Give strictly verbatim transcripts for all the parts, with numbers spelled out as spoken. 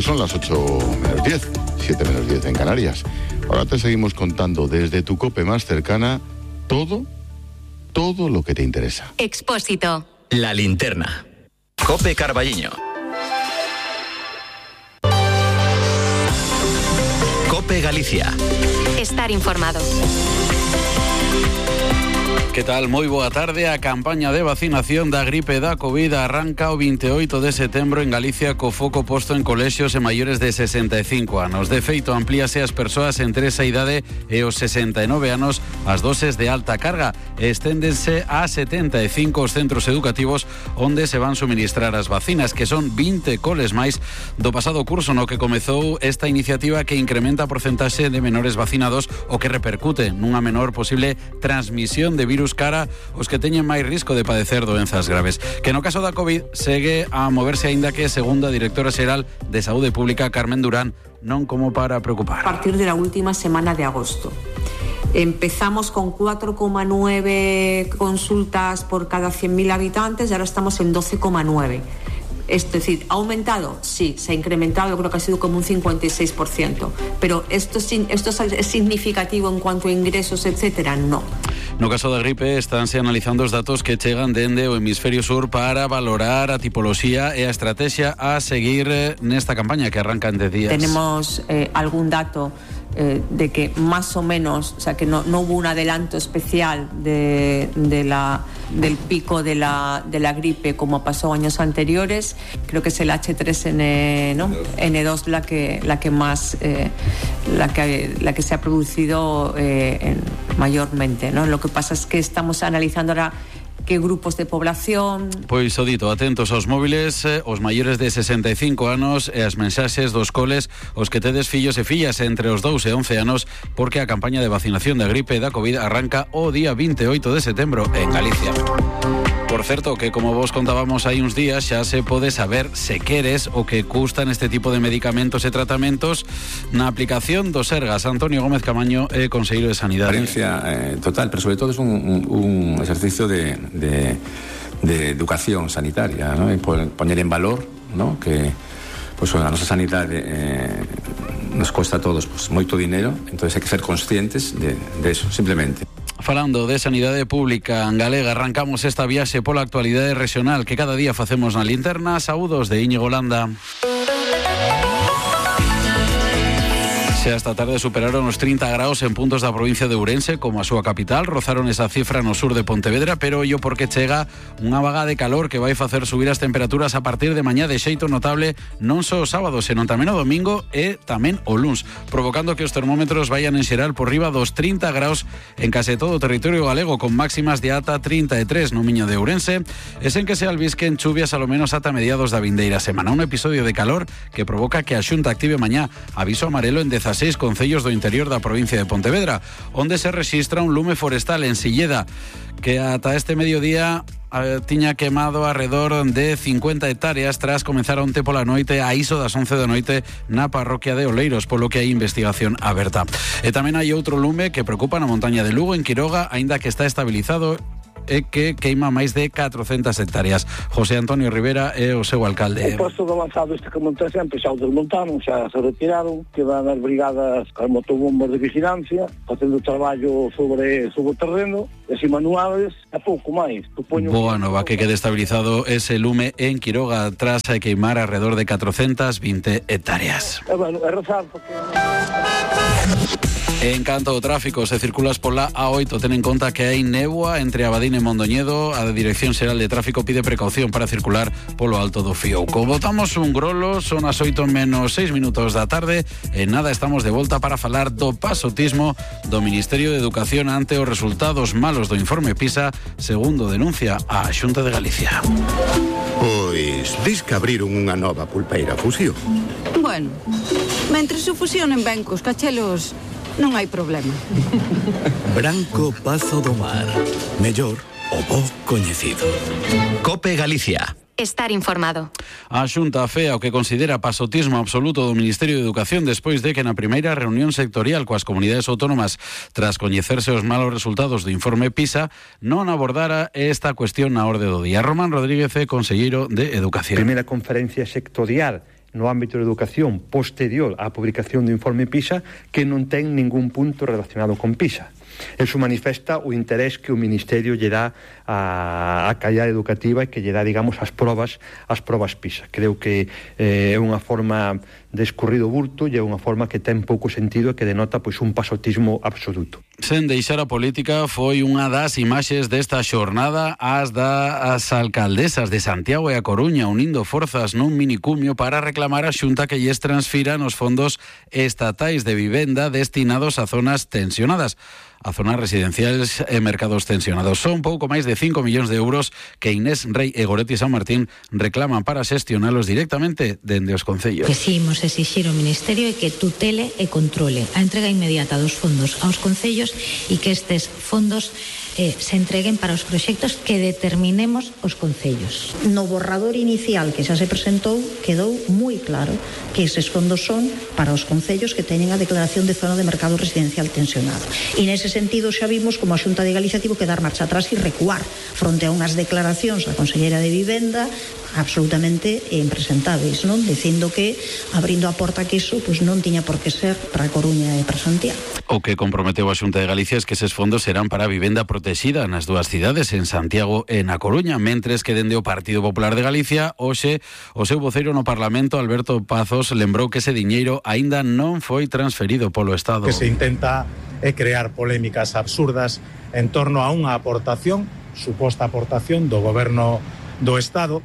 Pues son las ocho menos diez, siete menos diez en Canarias. Ahora te seguimos contando desde tu COPE más cercana todo, todo lo que te interesa. Expósito. La linterna. COPE Carballiño. COPE Galicia. Estar informado. Que tal? Moi boa tarde. A campaña de vacinación da gripe da COVID arranca o veintioito de setembro en Galicia co foco posto en colexios e maiores de sesenta e cinco anos. De feito, amplíase as persoas entre esa idade e os sesenta e nove anos as doses de alta carga e esténdense a setenta e cinco os centros educativos onde se van suministrar as vacinas, que son vinte coles máis do pasado curso no que comezou esta iniciativa que incrementa a porcentaxe de menores vacinados o que repercute nunha menor posible transmisión de virus cara os que teñen máis risco de padecer doenzas graves. Que no caso da COVID segue a moverse aínda que, segundo a directora xeral de Saúde Pública, Carmen Durán, non como para preocupar. A partir de la última semana de agosto. Empezamos con cuatro coma nueve consultas por cada cien mil habitantes y ahora estamos en doce coma nueve. Es decir, ¿ha aumentado? Sí, se ha incrementado, creo que ha sido como un cincuenta y seis por ciento. Pero ¿esto, esto es significativo en cuanto a ingresos, etcétera? No. No caso da gripe, estánse analizando os datos que chegan dende o hemisferio sur para valorar a tipoloxía e a estrategia a seguir nesta campaña que arranca en dez días. Tenemos eh, algún dato eh, de que más o menos, o sea, que no, no hubo un adelanto especial de, de la, del pico de la, de la gripe como pasó años anteriores. Creo que es el hache tres ene dos, ¿no? ene dos la que, la que más, eh, la que, la que se ha producido eh, en, mayormente, ¿no? Lo que pasa es que estamos analizando ahora que grupos de población. Pois o dito, atentos aos móviles, os maiores de sesenta e cinco anos e as mensaxes dos coles, os que tedes fillos e fillas entre os dous e once anos, porque a campaña de vacinación da gripe da COVID arranca o día veintioito de setembro en Galicia. Por certo, que como vos contábamos hai uns días, xa se pode saber se queres o que custan este tipo de medicamentos e tratamentos na aplicación do Sergas. Antonio Gómez Camaño é conselleiro de Sanidade. Transparencia eh, total, pero sobre todo es un, un, un ejercicio de, de, de educación sanitaria, ¿no? Y poner en valor, ¿no? Que pues, a nosa sanidade eh, nos cuesta a todos pues, moito dinero, entonces hai que ser conscientes de, de eso, simplemente. Falando de sanidade pública en galega, arrancamos esta viaxe pola actualidade regional que cada día facemos na linterna. Saúdos de Íñigo Landa. Xa esta tarde superaron os trinta graus en puntos da provincia de Ourense, como a súa capital, rozaron esa cifra no sur de Pontevedra, pero ollo porque chega unha vaga de calor que vai facer subir as temperaturas a partir de mañá de xeito notable, non só o sábado, senón tamén o domingo e tamén o luns, provocando que os termómetros vayan en xeral por riba dos trinta graus en case todo o territorio galego, con máximas de ata trinta e tres no Miño de Ourense, e sen que se albisquen chuvias alo menos ata mediados da vindeira semana. Un episodio de calor que provoca que a Xunta active mañá aviso amarelo en dezaseis concellos do interior da provincia de Pontevedra, onde se rexistra un lume forestal en Silleda, que ata este mediodía eh, tiña quemado alrededor de cincuenta hectáreas tras comenzar onte pola noite a iso das once da noite na parroquia de Oleiros, polo que hai investigación aberta. E tamén hai outro lume que preocupa na montaña de Lugo, en Quiroga, aínda que está estabilizado e que queima máis de catrocentas hectáreas. José Antonio Rivera é o seu alcalde. O posto de avanzado este que monta sempre xa o desmontaron, xa se retiraron, quedan as brigadas as motobombas de vigilancia facendo traballo sobre, sobre o terreno, e así manuales, e pouco máis. Supoño Boa nova que quede estabilizado ese lume en Quiroga tras a queimar alrededor de catrocentas vinte hectáreas. E bueno, é rezar porque... En canto ao tráfico, se circulas pola A oito, ten en conta que hai néboa entre Abadín e Mondoñedo. A Dirección Xeral de Tráfico pide precaución para circular polo Alto do Fiouco. Botamos un grolo, son as oito menos seis minutos da tarde. En nada estamos de volta para falar do pasotismo do Ministerio de Educación ante os resultados malos do informe PISA, segundo denuncia a Xunta de Galicia. Pois, dis que abriron unha nova pulpeira fusión. Bueno, mentre se fusionen ben cos cachelos, non hai problema. Branco Pazo do Mar. Mellor o bo coñecido. COPE Galicia. Estar informado. A Xunta afea o que considera pasotismo absoluto do Ministerio de Educación despois de que na primeira reunión sectorial coas comunidades autónomas, tras coñecerse os malos resultados do informe PISA, non abordara esta cuestión na orde do día. Román Rodríguez é conselleiro de Educación. Primeira conferencia sectorial no ámbito da educación posterior á publicación do informe PISA que non ten ningún punto relacionado con PISA. Eso manifesta o interés que o Ministerio lle dá a, a calidade educativa e que lle dá, digamos, as probas as probas PISA. Creo que eh, é unha forma de escurrido burto e é unha forma que ten pouco sentido e que denota pois un pasotismo absoluto. Sen deixar a política, foi unha das imaxes desta xornada as das alcaldesas de Santiago e A Coruña unindo forzas nun minicumio para reclamar a Xunta que lles transfiran os fondos estatais de vivenda destinados a zonas tensionadas. A zonas residenciales e mercados tensionados. Son pouco máis de cinco millóns de euros que Inés Rei e Goretti San Martín reclaman para xestionalos directamente dende os concellos. Que si imos exixir ao Ministerio é que tutele e controle a entrega inmediata dos fondos aos concellos e que estes fondos eh, se entreguen para os proxectos que determinemos os concellos. No borrador inicial que xa se presentou quedou moi claro que eses fondos son para os concellos que teñen a declaración de zona de mercado residencial tensionado. E nese sentido xa vimos como a Xunta de Galicia tivo que dar marcha atrás e recuar fronte a unhas declaracións da Conselleira de Vivenda absolutamente impresentáveis, non? Dicindo que abrindo a porta que iso pois non tiña por que ser para a Coruña e para Santiago. O que comprometeu a Xunta de Galicia es que eses fondos serán para a vivenda protexida nas dúas cidades, en Santiago e na Coruña, mentres que dende o Partido Popular de Galicia, hoxe, o seu voceiro no Parlamento, Alberto Pazos, lembrou que ese diñeiro aínda non foi transferido polo Estado. Que se intenta é crear polémicas absurdas en torno a unha aportación, suposta aportación do goberno do Estado,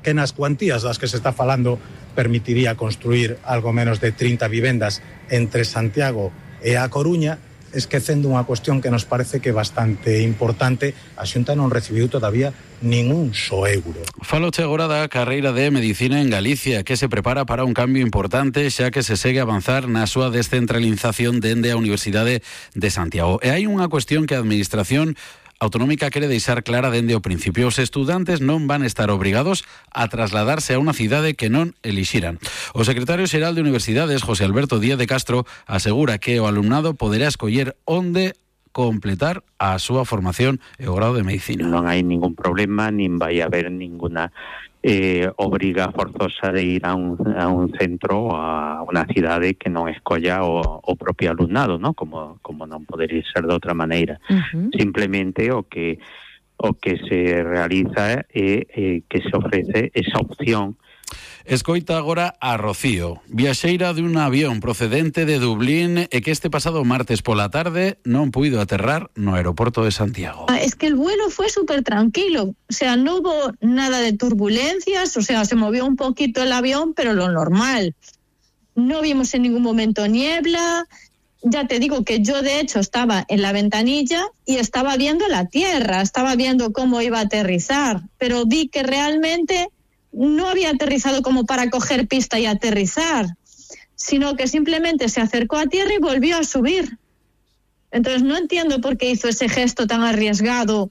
que nas cuantías das que se está falando permitiría construir algo menos de trinta vivendas entre Santiago e A Coruña, esquecendo unha cuestión que nos parece que é bastante importante. A Xunta non recibiu todavía ningún só euro. Faloche agora da carreira de Medicina en Galicia, que se prepara para un cambio importante, xa que se segue a avanzar na súa descentralización dende a Universidade de Santiago. E hai unha cuestión que a Administración Autonómica quere deixar clara dende o principio. Os estudantes non van estar obrigados a trasladarse a unha cidade que non elixiran. O secretario xeral de Universidades, José Alberto Díaz de Castro, asegura que o alumnado poderá escoller onde completar a súa formación e o grado de Medicina. Non hai ningún problema, nin vai haber ninguna eh, obriga forzosa de ir a un, a un centro, a unha cidade que non escolla o, o propio alumnado, ¿no? Como, como non podería ser de outra maneira. Uh-huh. Simplemente o que o que se realiza é eh, que se ofrece esa opción. Escoita agora a Rocío, viaxeira dun avión procedente de Dublín e que este pasado martes pola tarde non puido aterrar no aeroporto de Santiago. Es que el vuelo fue súper tranquilo, o sea, no hubo nada de turbulencias, o sea, se movió un poquito el avión, pero lo normal. No vimos en ningún momento niebla. Ya te digo que yo de hecho estaba en la ventanilla y estaba viendo la tierra, estaba viendo cómo iba a aterrizar, pero vi que realmente no había aterrizado como para coger pista y aterrizar, sino que simplemente se acercó a tierra y volvió a subir. Entonces no entiendo por qué hizo ese gesto tan arriesgado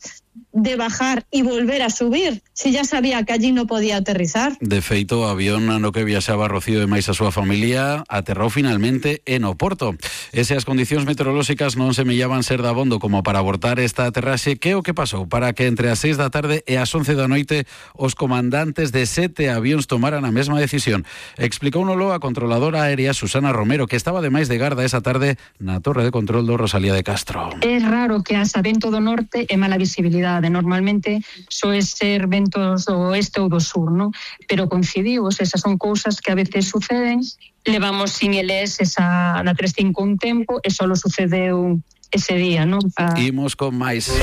de bajar y volver a subir, si ya sabía que allí no podía aterrizar. De feito, o avión no que viaxaba Rocío e máis a súa familia aterrou finalmente en Oporto. E se as condicións meteorolóxicas non semellaban ser dabondo como para abortar esta aterraxe, que o que pasou para que entre as seis da tarde e as once da noite os comandantes de sete avións tomaran a mesma decisión? Explicóunolo a controladora aérea Susana Romero, que estaba ademais de garda esa tarde na torre de control do Rosalía de Castro. É raro que haxa vento do norte e mala visibilidade. Normalmente soe ser ventos do oeste ou do sur, ¿no? Pero coincidimos, esas son cousas que a veces suceden. Levamos sin eles esa na trescientos cinco un tempo e solo sucedeu ese día, ¿no? A... Imos con máis.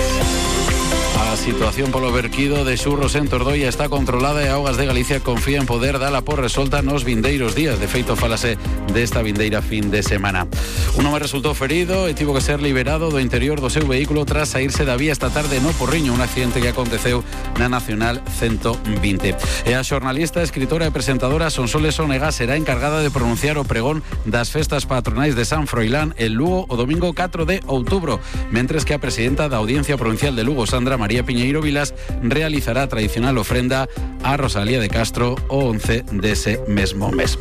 A situación polo verquido de xurros en Tordoia está controlada e Augas de Galicia confía en poder dala por resolta nos vindeiros días. De feito, falase desta vindeira fin de semana. Un home resultou ferido e tivo que ser liberado do interior do seu vehículo tras saírse da vía esta tarde no Porriño, un accidente que aconteceu na Nacional ciento vinte. E a xornalista, escritora e presentadora Sonsoles Onega será encargada de pronunciar o pregón das festas patronais de San Froilán en Lugo o domingo catro de outubro, mentres que a presidenta da Audiencia Provincial de Lugo, Sandra María Piñeiro Vilas, realizará a tradicional ofrenda a Rosalía de Castro o once dese mesmo mes.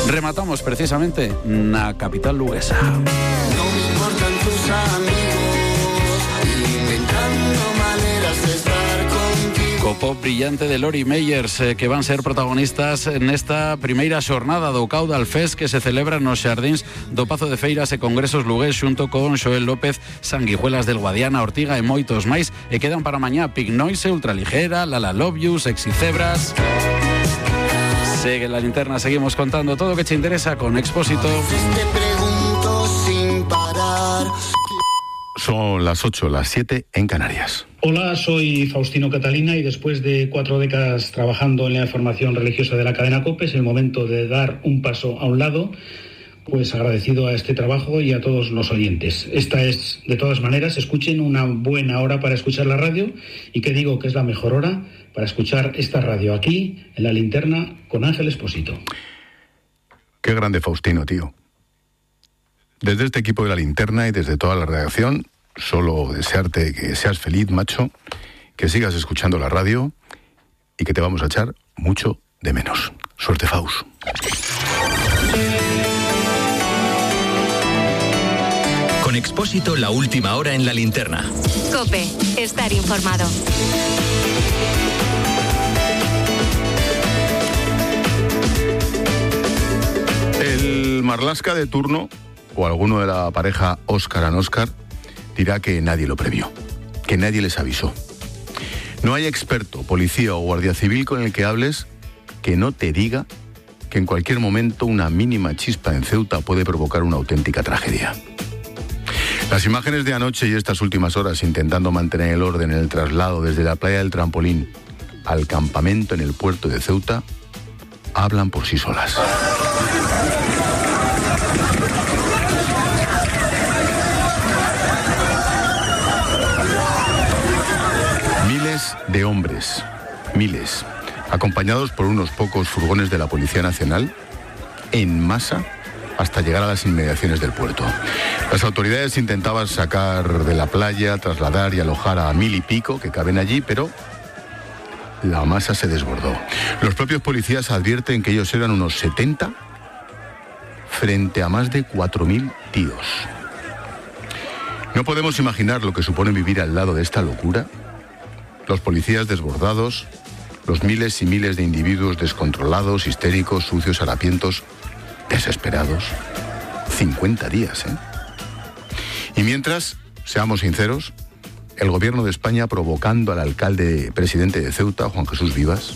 Rematamos precisamente na capital luguesa. No me importan tus amigos, inventando maneras de estar contigo. pop brillante de Lori Meyers, eh, que van ser protagonistas nesta primeira xornada do Caudal Fest que se celebra nos xardíns do Pazo de Feiras e Congresos Lugués xunto con Xoel López, Sanguijuelas del Guadiana, Ortiga e moitos máis, e quedan para mañá Pink Noise, Ultraligera, Lala Love You, Sexy Cebras. Segue la linterna, seguimos contando todo o que te interesa con Expósito. Te pregunto sin parar. Son las ocho, las siete en Canarias. Hola, soy Faustino Catalina y después de cuatro décadas trabajando en la información religiosa de la cadena COPE es el momento de dar un paso a un lado, pues agradecido a este trabajo y a todos los oyentes. Esta es, de todas maneras, escuchen una buena hora para escuchar la radio y que digo que es la mejor hora para escuchar esta radio aquí, en La Linterna, con Ángel Expósito. Qué grande Faustino, tío. Desde este equipo de La Linterna y desde toda la redacción, solo desearte que seas feliz, macho, que sigas escuchando la radio y que te vamos a echar mucho de menos. Suerte, Faust. Con Expósito, la última hora en La Linterna. COPE, estar informado. El Marlaska de turno, o alguno de la pareja Óscar and Óscar, dirá que nadie lo previó, que nadie les avisó. No hay experto, policía o guardia civil con el que hables que no te diga que en cualquier momento una mínima chispa en Ceuta puede provocar una auténtica tragedia. Las imágenes de anoche y estas últimas horas intentando mantener el orden en el traslado desde la playa del Trampolín al campamento en el puerto de Ceuta hablan por sí solas. Miles de hombres, miles, acompañados por unos pocos furgones de la Policía Nacional, en masa, hasta llegar a las inmediaciones del puerto. Las autoridades intentaban sacar de la playa, trasladar y alojar a mil y pico que caben allí, pero la masa se desbordó. Los propios policías advierten que ellos eran unos setenta frente a más de cuatro mil tíos. No podemos imaginar lo que supone vivir al lado de esta locura. Los policías desbordados, los miles y miles de individuos descontrolados, histéricos, sucios, harapientos, desesperados. cincuenta días, ¿eh? Y mientras, seamos sinceros, el gobierno de España provocando al alcalde presidente de Ceuta, Juan Jesús Vivas,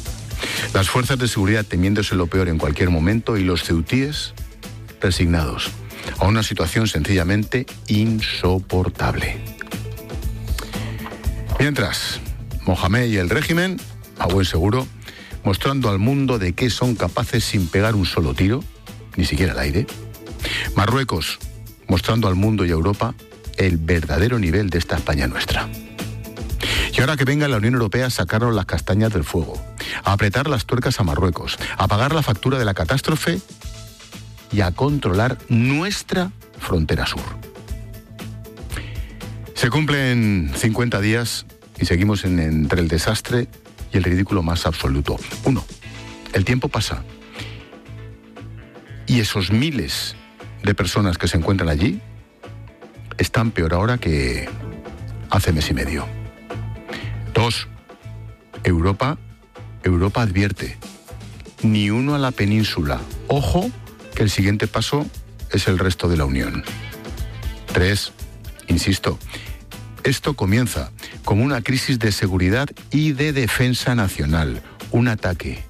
las fuerzas de seguridad temiéndose lo peor en cualquier momento y los ceutíes resignados a una situación sencillamente insoportable. Mientras, Mohamed y el régimen, a buen seguro, mostrando al mundo de qué son capaces sin pegar un solo tiro, ni siquiera al aire. Marruecos, mostrando al mundo y a Europa el verdadero nivel de esta España nuestra. Y ahora que venga la Unión Europea a sacarnos las castañas del fuego, a apretar las tuercas a Marruecos, a pagar la factura de la catástrofe y a controlar nuestra frontera sur. Se cumplen cincuenta días y seguimos en, entre el desastre y el ridículo más absoluto. Uno, el tiempo pasa y esos miles de personas que se encuentran allí están peor ahora que hace mes y medio. Dos, Europa, Europa advierte, ni uno a la península. Ojo, que el siguiente paso es el resto de la Unión. Tres, insisto, esto comienza como una crisis de seguridad y de defensa nacional, un ataque